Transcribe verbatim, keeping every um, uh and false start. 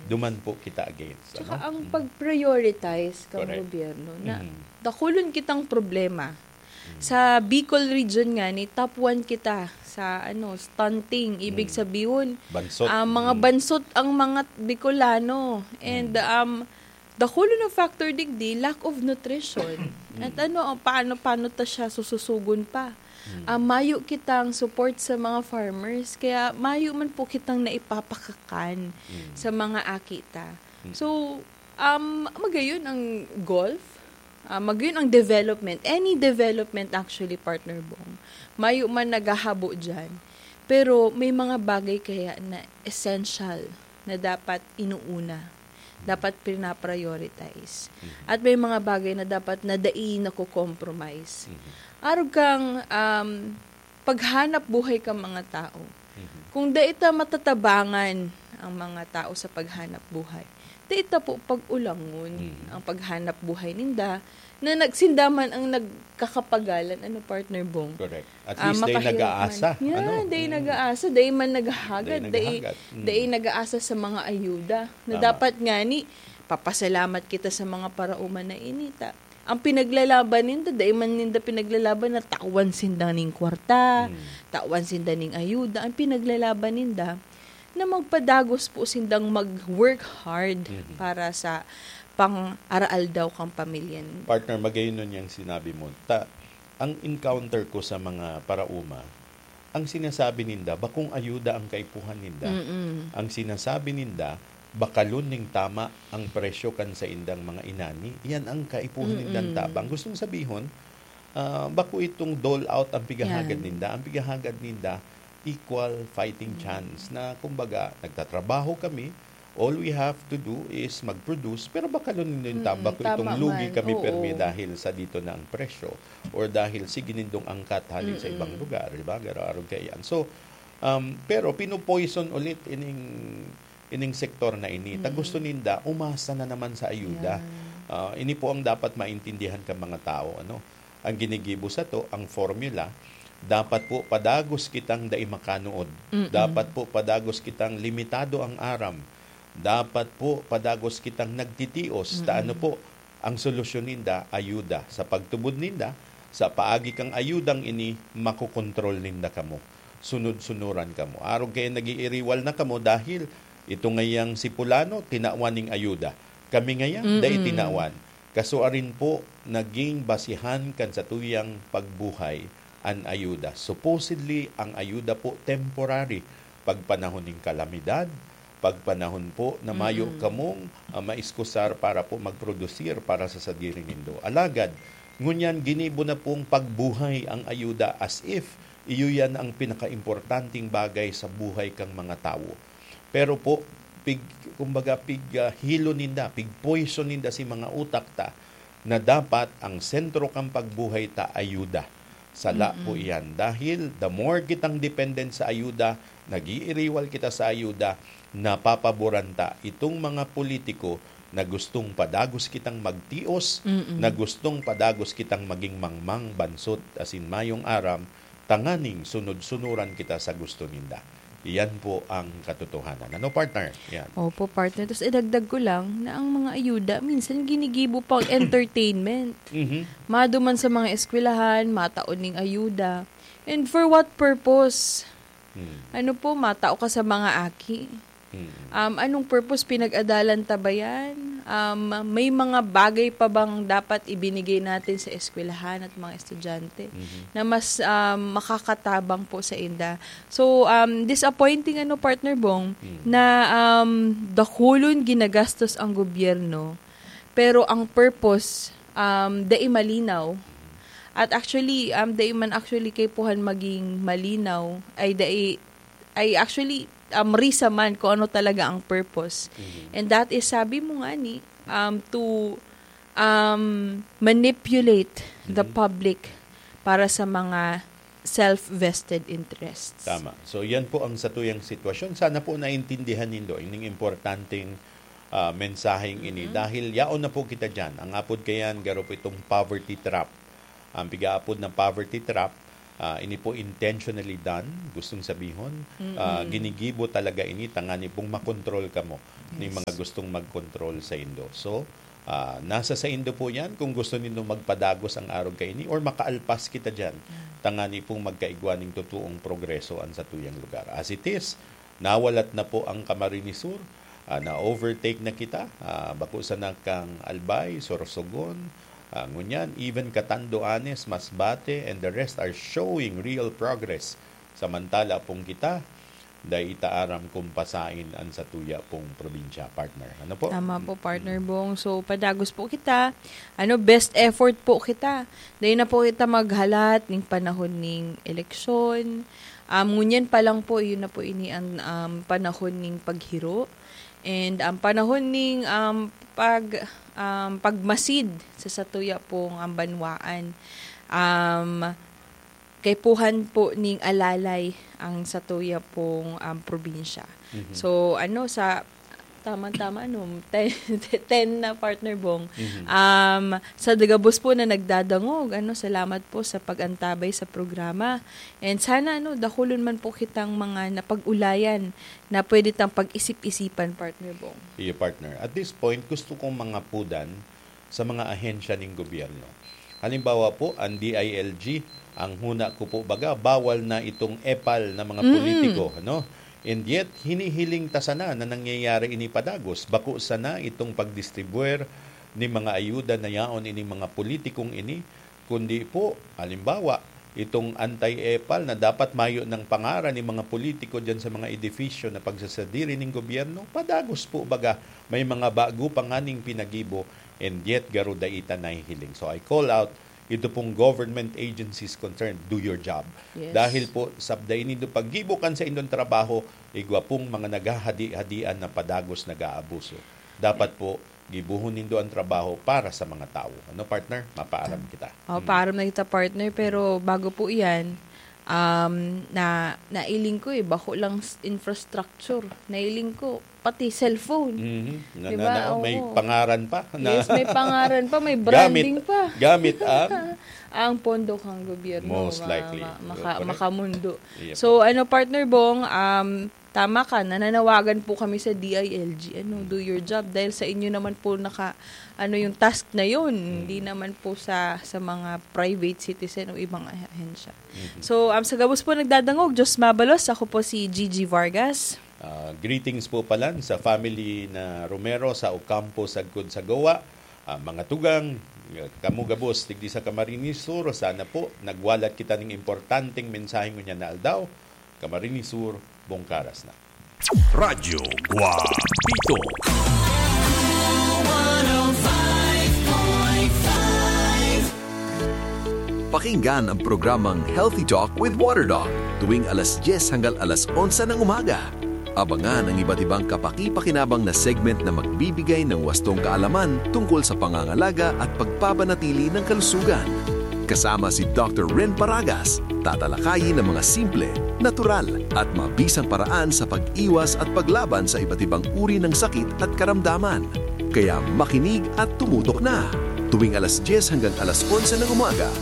duman po kita against, Tsaka ano? ang Mm. pag-prioritize kang Correct. gobyerno na Mm. dakulon kitang problema. Mm. Sa Bicol region nga ni, top one kita sa, ano, stunting. Ibig Mm. sabihin, Bansot. ah, mga Mm. bansot ang mga Bicolano. And, Mm. um, dakulon na factor digdi, lack of nutrition. Mm. At ano, ang paano, paano ta siya sususugon pa? Mm. Ah, mayo kitang support sa mga farmers, kaya mayo man po kitang naipapakakan Mm. sa mga aki ta. Mm. So, um, magayon ang golf, ah, magayon ang development, any development actually, Partner Bong, mayo man naghahabo diyan. Pero may mga bagay kaya na essential na dapat inuuna, dapat pinaprioritize. Mhm. At may mga bagay na dapat na dai nako-compromise. Mhm. Arog kang, um, paghanap buhay kang mga tao. Mhm. Kung dai ta matatabangan ang mga tao sa paghanap buhay, dai ta po pag-ulangon Mhm. ang paghanap buhay ninda na nagsinda man ang nagkakapagalan, ano, Partner Bong? Correct. At Ah, least, dai makahirap nag-aasa, man. Yeah, ano? dai Mm. nag-aasa, dai man naghahagad, Dai dai, naghahagad. Mm. dai nag-aasa sa mga ayuda na Tama. dapat nga ni, papasalamat kita sa mga paraoma na ini, ta. Ang pinaglalaban ninda, dai man ninda pinaglalaban na tawan sinda ning kwarta, Mm. tawan sinda ning ayuda. Ang pinaglalaban ninda, na magpadagos po sindang mag-work hard Mhm. para sa pang-araaldaw kang pamilya ninda. Partner, magayon nun yang sinabi mo. Ta-, ang encounter ko sa mga paraoma, ang sinasabi ninda, bakong ayuda ang kaipuhan ninda. Mm-mm. Ang sinasabi ninda, bakalon ning tama ang presyo kan saindang mga inani. Yan ang kaipuhan nindang Mm-mm. tabang. Gustong sabihon, ah, bako itong dole out ang pighahagad Yan. ninda. Ang pighahagad ninda, equal fighting Mm. chance na, kumbaga, nagtatrabaho kami, all we have to do is mag-produce, pero bakalon nindo yung Mm, tabang ko tama itong lugi man. kami Oo. permi dahil sa dito na ang presyo or dahil sige nindong angkat hali sa ibang Mm-mm. lugar, di ba? Garo-arog kaiyan. So, um, pero pinupoison ulit ining, ining sektor na ini. Ta Mm. gusto ninda, umasa na naman sa ayuda. Yan. Ah, ini po ang dapat maintindihan kan mga tao, ano? Ang ginigibo sato, ang formula, dapat po padagos kitang dai makanood. Mm-mm. Dapat po padagos kitang limitado ang aram. Dapat po padagos kitang nagtitios. Ta Mm-mm. ano po, ang solusyon ninda, ayuda. Sa pagtubod ninda, sa paagi kang ayudang ini, makokontrol ninda kamo. Sunod-sunuran kamo. Arog kaya nag-iiriwal na kamo dahil ito ngayang si Pulano, tinawan ning ayuda. Kami ngaya, dai Mm-mm. tinawan. Kasuarin po, naging basihan kan satuyang pagbuhay an ayuda. Supposedly, ang ayuda po temporary, pagpanahon nin kalamidad, pagpanahon po na mayo Mm. kamong, ah, maiskusar para po magprodusir para sa sadiri nindo. Alagad, ngunyan ginibo na pong pagbuhay ang ayuda as if iyo yan ang pinakaimportanteng bagay sa buhay kang mga tawo. Pero po, pig-, kumbaga, pig, ah, hilo ninda, pig-poison ninda si mga utak ta na dapat ang sentro kan pagbuhay ta ayuda. Sala po Mm-mm. iyan. Dahil the more kitang dependent sa ayuda, nag-iiriwal kita sa ayuda, napapaboran ta itong mga politiko na gustong padagos kitang magtios, Mm-mm. na gustong padagos kitang maging mangmang, bansot, asin mayong aram, tanganing sunod-sunuran kita sa gusto ninda. Iyan po ang katotohanan. Ano, partner? Yan. Opo, partner. Tapos idagdag ko lang na ang mga ayuda, minsan ginigibo pang entertainment. Mhm. Maduman sa mga eskwelahan, mataon ning ayuda. And for what purpose? Hmm. Ano po, matao ka sa mga aki? Hmm. Um, anong purpose? Pinag-adalan ta ba yan? Um, may mga bagay pa bang dapat ibinigay natin sa eskwelahan at mga estudyante Mhm. na mas, um, makakatabang po sa inda? So, um, disappointing, ano, Partner Bong, Hmm. na, um, dakulon ginagastos ang gobyerno, pero ang purpose, um, dai malinaw. At actually, um, dai man actually kaipuhan maging malinaw, ay dai, ay actually, um, risa man kung ano talaga ang purpose. Mhm. And that is, sabi mo nga ni, um, to, um, manipulate the Mhm. public para sa mga self-vested interests. Tama. So, yan po ang satuyang sitwasyon. Sana po naintindihan nindo ining importanteng, ah, mensaheng ini. Mhm. Dahil yaon na po kita dyan. Ang apod kayan, garo po itong poverty trap. Ang pigaapod na poverty trap, Ah, ini po intentionally done, gustong sabihon, ah, Mm. ginigibo talaga ini tangani pong makontrol kamo ning Yes. mga gustong magkontrol sa indo. So, ah, nasa sa indo po yan kung gusto nindo magpadagos ang arog kaini or makaalpas kita diyan, Mm. tangani pong magkaigwa ning totoong progreso an satuyang lugar. As it is, nawalat na po ang Camarines Sur, ah, na-overtake na kita, ah, bako sana kang Albay, Sorsogon, ah, ngunyan, even Catanduanes, Masbate, and the rest are showing real progress. Samantala pong kita, dai ta aram kung pasain an satuya pong probinsya, partner. Ano po? Tama po, partner Mm. Bong. So, padagos po kita. Ano, best effort po kita. Dai na po kita maghalat ning panahon ning eleksyon. Um, ngunyan pa lang po, yun na po ini ang, um, panahon ning paghiro. And ang panahon ning, um, pag, um, pagmasid sa satuya pong, um, banwaan. Um, kaipuhan po ning alalay ang satuya pong, um, probinsya. Mhm. So, ano, sa, tama-tama, ano, ten, ten na, partner Bong. Mhm. Um, sa gabos po na nagdadangog, ano, salamat po sa pag-antabay sa programa. And sana, ano, dakulon man po kitang mga napag-ulayan na pwede tang pag-isip-isipan, partner Bong. Iyo, partner. At this point, gusto kong mangapudan sa mga ahensya ning gobyerno. Halimbawa po, ang D I L G, ang huna ko po baga, bawal na itong epal na mga Mm. politiko, ano? And yet, hinihiling ta sana na nangyayari ini padagos. Bako sana itong pagdistribuer ni mga ayuda na yaon ining mga politikong ini, kundi po, halimbawa, itong anti-epal na dapat mayo ng pangaran ni mga politiko diyan sa mga edifisyo na pagsasadiri ning gobyerno, padagos po baga may mga bago pa nganing pinagibo, and yet garo dai ta nahihiling. So I call out ito pong government agencies concerned, do your job. Yes. Dahil po, sabday nindo paggibo kan sa indong trabaho, igwa pong mga naghahadi-hadian na padagos nag-aabuso. Dapat po, gibohon nindo ang trabaho para sa mga tawo. Ano, partner? Mapaaram kita. Oh, Mm. paaram na kita, partner. Pero bago po iyan, um, na, nailing ko eh, bako lang s-, infrastructure. Nailing ko, pati cellphone. Mhm. Na, Di na, ba? na, may Oo. pangaran pa. Na Yes, may pangaran pa, may gamit, branding pa. gamit ang Ang pondo kang gobyerno, Most ma-, likely. ma-, maka-, Correct. makamundo. Yep. So, ano, partner Bong, um, tama ka, nananawagan po kami sa D I L G, ano, Mm. do your job. Dahil sa inyo naman po naka, ano, yung task na yun. Mm. Hindi naman po sa, sa mga private citizen o ibang ahensya. Mhm. So, um, sa gabos po nagdadangog, Diyos mabalos. Ako po si Gigi Vargas. Ah, greetings po palan sa family na Romero sa Ocampo, sagkod sa Goa. Ah, mga tugang, ah, kamo gabos, digdi sa Camarines Sur, sana po nagwalat kita ning importanteng mensahe ngunyan na aldaw. Camarines Sur, Bongkaras na. Radyo Guapito. Pakinggan ang programang Healthy Talk with Water Doc tuwing alas dyes hanggang alas onse ng umaga. Abangan ang iba't ibang kapaki-pakinabang na segment na magbibigay ng wastong kaalaman tungkol sa pangangalaga at pagpapanatili ng kalusugan. Kasama si Doctor Ren Paragas, tatalakayin ang mga simple, natural, at mabisang paraan sa pag-iwas at paglaban sa iba't ibang uri ng sakit at karamdaman. Kaya makinig at tumutok na. Tuwing alas dyes hanggang alas onse ng umaga,